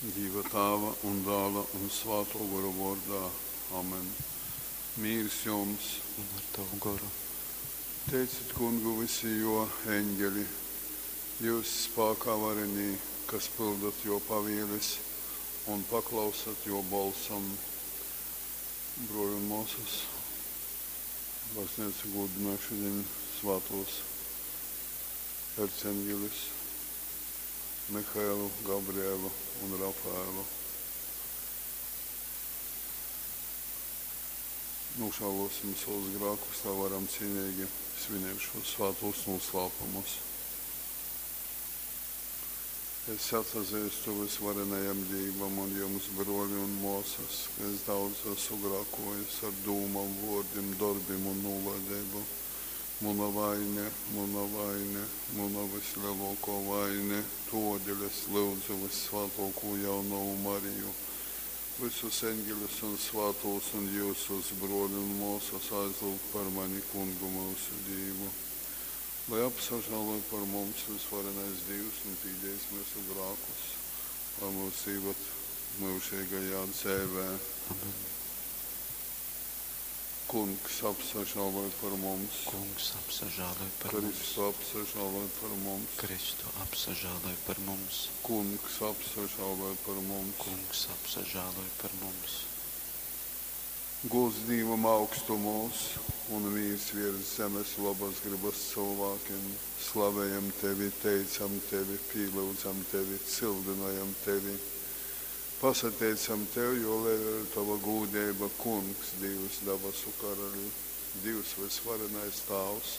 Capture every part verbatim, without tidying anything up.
Dīva Tāva un Dāla un Svātō Gora vōrdā. Amen. Mīrs jums! Un ar tavu goru. Teicit Kungu vysi jō eņgeli, jyus spākā varenī, kas pyldat jō pavieles un paklausat jō bolsam. Brōli un mōsas, bazneica gūdynoj šudiņ svātūs erceņgeļus Mihaelu, Gabrielu un Rafaelu. Nožēlosim savus grēkus, lai varam cienīgi svinēt šos svētos noslēpumus. Es atzīstu visvarenajam Dievam un jums, broļi un māsas, ka es daudz esmu grēkojis ar dūmām, vārdiem, darbiem un nolaidību. Mana vaine, mana vaine, mana vislielākā vaine, todēļ es lūdzu visvētāko jaunavu Mariju, visus eņģeļus un svētos un jūsus, broļi un māsas, aizlūgt par mani kungu mūsu Dievu. Lai apsažāloj par mums visvarenais Dievs un pīdējis mūsu grēkus, lai mūs īvad mūžīgajā dzīvē. Amen. Kungs apsažāloj par mums. Kungs apsažāloj par mums. Kristu apsažāloj par mums. Kristu apsažāloj par mums. Kungs apsažāloj par mums. Kungs apsažāloj par mums. Gods Dievam augstumos un mīrs virs zemes labas gribas cilvēkiem. Slavējam tevi, teicam tevi, pielūdzam tevi, cildinājam tevi. Pasateicam tev, jo liela ir tava gūdība, Kungs, Dievs, dabasu karaļi, Dievs visvarenais Tāvs,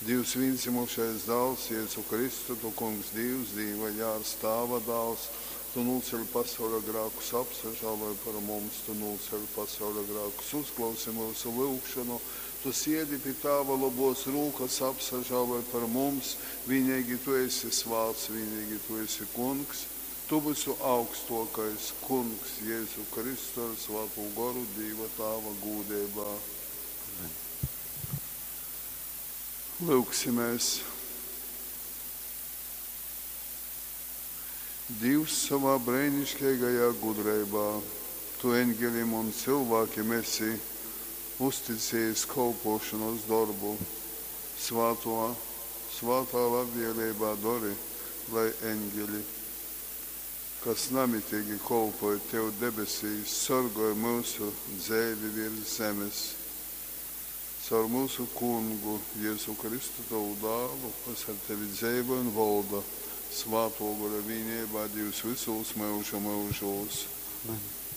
Dievs vienzimušais dāls, Jēzu Kristu, tu Kungs, Dievs, Dieva jārs, Tāva dāls, tu nocēli pasaules grēkus, apsažāloj par mums, tu nocēli pasaules grēkus, uzklausi mūsu lūgšanu, tu siedi pie Tāva labos rūkas, apsažāloj par mums, vienīgi tu esi svāts, vienīgi tu esi Kungs, tu visu augstākais Kungs Jēzu Kristu ar Svēto Goru Dieva Tāva gūdībā. Amen. Lūksimies! Dievs savā brīnišķīgajā gudrībā, tu eņģelim un cilvēkiem esi uzticējis kalpošanas darbu. Svāto, svātā labvēlībā dari, lai eņģeļi, kas namitīgi kalpoja tev debesīs, sargāja mūsu dzīvi virs zemes. Caur mūsu kungu Jēzu Kristu, tavu dālu, kas ar tevi dzīvo un valda Svāto Gora vienībā Dievs visos mūža mūžos. Amen.